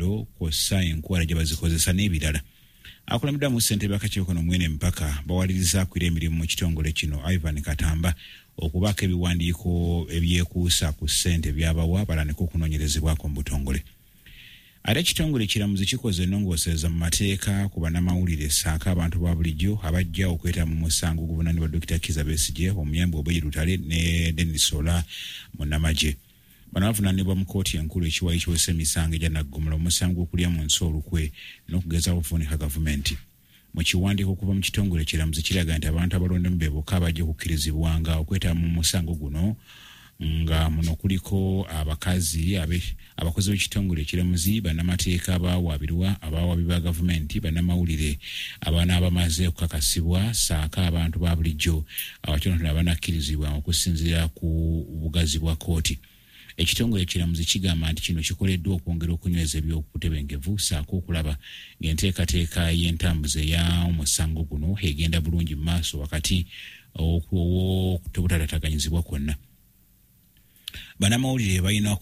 malwaliro kw'ossa enkwala gye bazikozesa n'ebirala. Akulembeddwamu ssentebe w'akakiiko kano Mwene Mpaka bawaliriza akulira emirimu mu kitongole kino Ivan Katamba okubaako ebiwandiiko ebyekuusa ku ssente by'abawa batandike okunoonyerezebwako mu butongole. Ate ekitongole ekiramuzi kikoze ennongoosereza mu mateeka ku bannamawulire ssaako abantu ba bulijjo abajja okwetaba mu musango oguvunaanibwa Dokita Kizza Besigye, omuyambi Obeid Lutale ne Denis Ola munnamagye. Bano bavunaanibwa mu kkooti enkulu ekiwayi ekiwozesa emisango egya naggomola omusango gw'okulya mu nsi olukwe n'okugezaako okuvuunika gavumenti. Mu kiwandiiko okuva mu kitongole ekiramuzi kiraga nti abantu abalondemu be bokka abajja okukkirizibwanga okwetaba mu musango guno nga muno kuliko abakazi abakozi b'ekitongole ekiramuzi, bannamateeka abawaabirwa, abawaabi ba gavumenti, bannamawulire abanaaba bamaze okukakasibwa ssaako abantu ba bulijjo abatonotono abanakkirizibwa okusinziira ku bugazi bwa kkooti. Ekitongole ekiramuzi kigamba nti kino kikoleddwa okwongera okunyweza eby'obutebenkevu ssaako okulaba ng'enteekateeka y'entambuza ey'omusango guno egenda bulungi mu maaso wakati ow'obutataataganyizibwa kwonna. Bannamawulire balina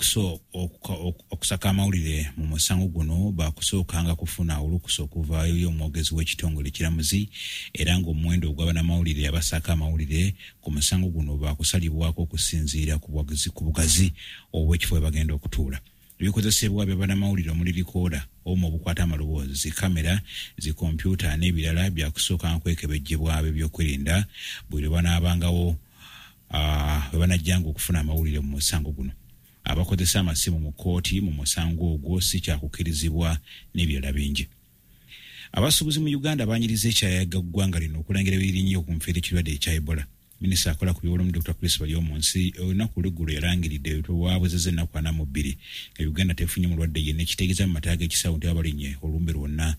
okusaka amawulire mu musango guno baakusookanga kufuna olukusa okuva eri omwogezi w'ekitongole ekiramuzi era ng'omuwendo ogwa bannamawulire abasaka amawulire ku musango guno baakusalibwako okusinziira ku bugazi obw'ekifo we bagenda okutuula. Ebikozesebwa bya bannamawulire omuli likooda, obuuma obukwata amaloboozi, zi kamera, zi kompyuta n'ebirala byakusookanga kwekebejjebwa ab'ebyokwerinda buli lwe banaabangawo bwe banajjanga okufuna amawulire mu musango guno. Abakozesa amasimu mu kkooti mu musango ogwo si kyakukkirizibwa n'ebirala bingi. Abasuubuzi mu Uganda baanyiriza ekyayaga ggwanga lino okulangira ebirinnye ku nfeera ekirwadde ekya Ebola. Minisita akola ku byobulamu Dr. Chris Baryomunsi olunaku olw'eggulo yalangiridde lwabwezezza ennaku 42 nga Uganda tefunye mulwadde yenna ekitegeeza mu mataga g'ekisawo nti babalinye olumbe lwonna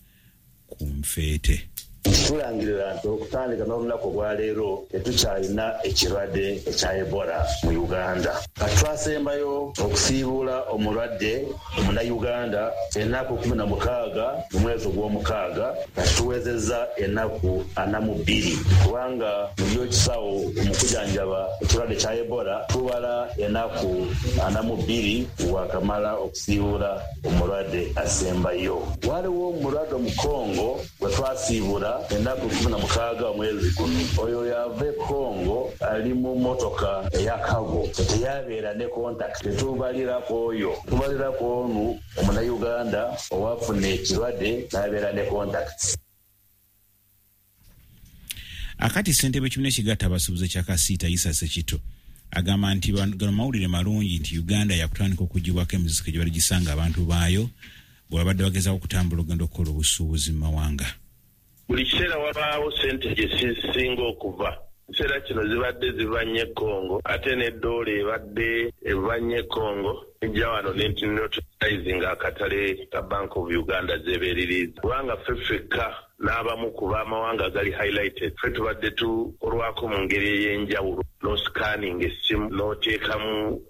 ku nfeete. Tulangirira nti okutandika n'olunaku olwaleero tetukyalina ekirwadde ekya Ebola mu Uganda. Kati twasembayo okusiibuula omulwadde omunnayuganda ennaku 16 mu mwezi ogw'omukaaga, kati tuwezezza ennaku 42 kubanga mu by'ekisawo mu kujanjaba ekirwadde kya Ebola tubala ennaku 42 wakamala okusiibuula omulwadde asembayo. Waliwo omulwadde omukongo gwe twasiibula ennaku 16 omwezi guno. Oyo yava e Congo ali mu mmotoka eya cargo, teyabeera ne contact. Tetubalirako oyo, tubalirako onu omunnayuganda owafuna ekirwadde n'abeera ne contacts. Akati ssentebe w'ekibiina ekigatta abasuubuzi ekya Kasiita Isa Ssekitto agamba nti gano mawulire malungi nti Uganda yakutandika okuggyibwako emiziziko gye baligisanga abantu baayo bwe babadde bagezaako okutambula okugenda okukola obusuubuzi mu mawanga. Buli kiseera wabaawo ssente gye zisinga okuva. Ekiseera kino zibadde ziva nnyo e Congo ate ne ddoola ebadde eva nnyo e Congo ejja wano n'entinotizing akatale ka Bank of Uganda zeebeeririza kubanga ffe ffekka n'abamu ku b'amawanga agali highlighted ffe tubadde tukolwako mu ngeri ey'enjawulo n'oscanning essimu n'oteekamu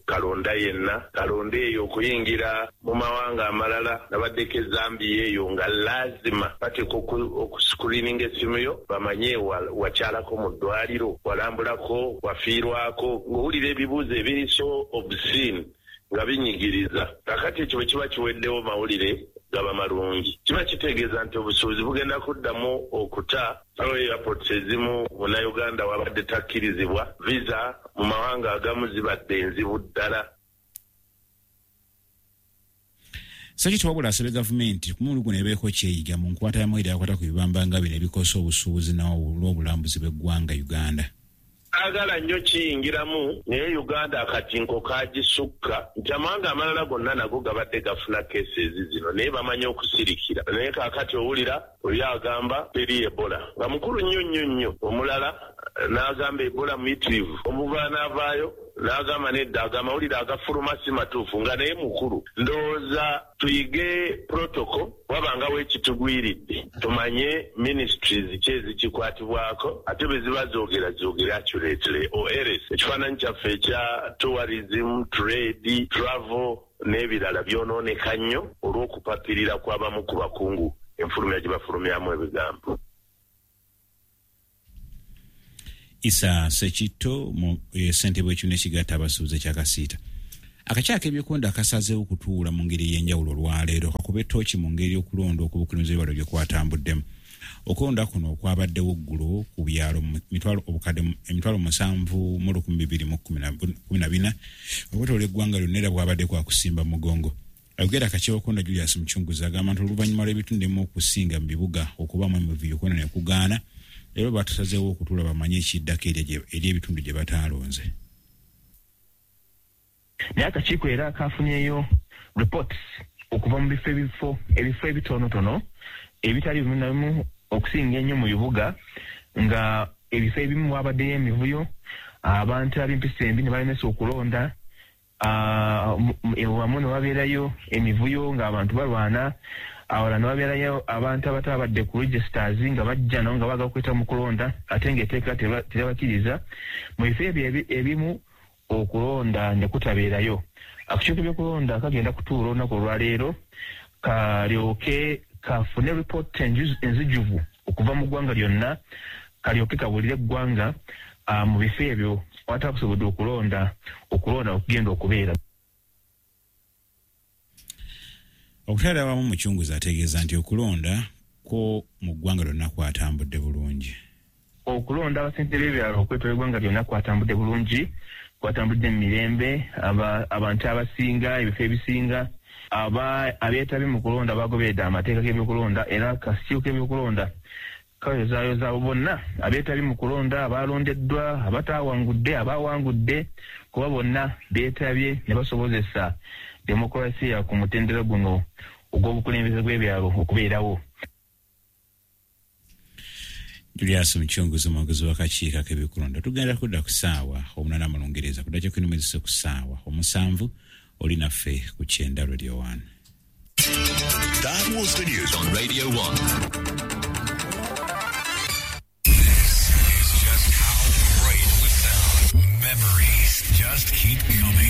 kalonda yenna kalonda eyo okuyingira mu mawanga amalala. Nabaddeko e Zambia eyo nga laazima bateeka okuscreeninga essimu yo bamanye wakyalako mu ddwaliro, walambulako, wafiirwako, ng'owulira ebibuuzo ebiri so obscene nga binyigiriza. Kakati ekyo bwe kiba kiweddewo mawulire gaba malungi, kiba kitegeeza nti obusuubuzi bugenda kuddamu okuta. Airports ezimu munnayuganda wabadde takkirizibwa, visa mu mawanga agamu zibadde enzibu ddala. Ssekitto wabula asabye gavumenti ku mulundi guno ebeeko kyeyiga mu nkwata y'amawulire agakwata ku bibamba nga bino ebikosa obusuubuzi n'obulambuzi bw'eggwanga Uganda. Saagala nnyo kiyingiramu naye Uganda akatinko kagisukka nti amawanga amalala gonna nago gabadde gafuna cases zino naye bamanyi okusirikira. Naye kaakati owulira oli agamba teri Ebola nga mukulu nnyo nnyo nnyo, omulala n'agamba Ebola muyitirivu, omulala n'avaayo n'agamba nedda ago amawulire agafuluma si matuufu nga naye mukulu. Ndowooza tuyige protocol wabangawo ekitugwiridde tumanye ministries ki ezikikwatibwako ate bwe ziba zoogera zoogere accurately or else ekifaananyi kyaffe ekya tourism, trade, travel n'ebirala byonooneka nnyo olw'okupapirira kw'abamu ku bakungu enfulumya gye bafulumyamu ebigambo. Isa Ssekitto ssentebe w'ekibiina ekigatta abasuubuzi ekya Kasiita. Akakiiko k'ebyokulonda akasazeewo okutuula mu ngeri ey'enjawulo olwaleero kakube ttooki mu ngeri y'okulonda okw'obukulembeze bw'ebyalo gye kwatambuddemu. Okulonda kuno okwabaddewo ggulo ku byalo 7,214 okwetooloola eggwanga lyonna era bwabadde kwa kusimba mugongo. Ayogera akakiiko k'okulonda Julius Muchunguzi agamba nti oluvannyuma lw'ebitundu ebimu okusinga mu bibuga okubaamu emivuyo okulonda ne kugaana, leero batusazeewo okutuula bamanye ekiddako eri ebitundu gye bataalonze. Naye akakiiko era kafunyeyo reports okuva mu bifo ebifo ebitonotono ebitali bimu na bimu okusinga ennyo mu bibuga, nga ebifo ebimu wabaddeyo emivuyo, abantu ab'empisa embi ne balemesa okulonda, wamu ne wabeerayo emivuyo ng'abantu balwana, awalala ne wabeerayo abantu abatabadde ku registers nga bajja nabo nga baagala okweta mu kulonda ate ng'etteeka teribakiriza. Mu bifo ebyo ebimu okulonda ne kutabeerayo. Akakiiko k'ebyokulonda kagenda kutuula olunaku olwaleero kalyoke kafune ripooti enzijuvu okuva mu ggwanga lyonna, kalyoke kabulire eggwanga mu bifo ebyo awatakusobodde okulonda okugenda okubeera. Okutwalira awamu Muchunguzi ategeeza nti okulonda kwo mu ggwanga lyonna kwatambudde bulungi. Okulonda abasente b'ebyalo okwetooloola eggwanga lyonna kwatambudde bulungi, kwatambudde mu mirembe, abantu abasinga, ebifo ebisinga, abeetabye mu kulonda bagoberedde amateeka g'ebyokulonda, era akakiiko k'ebyokulonda kayozaayoza abo bonna abeetabye mu kulonda, abalondeddwa, abataawangudde, abawangudde, kuba bonna beetabye ne basobozesa demokulasiya ku mutendera guno ogw'obukulembeze bw'ebyalo okubeerawo. Julius Muchunguzi omwogezi w'akakiiko k'ebyokulonda. Tugenda kudda ku ssaawa 8 mu Lungereza, kudda kyekunumezese ku ssaawa 7 oli naffe ku 90 Radio 1. That was the news on Radio 1. This is just how great we sound. Memories just keep coming.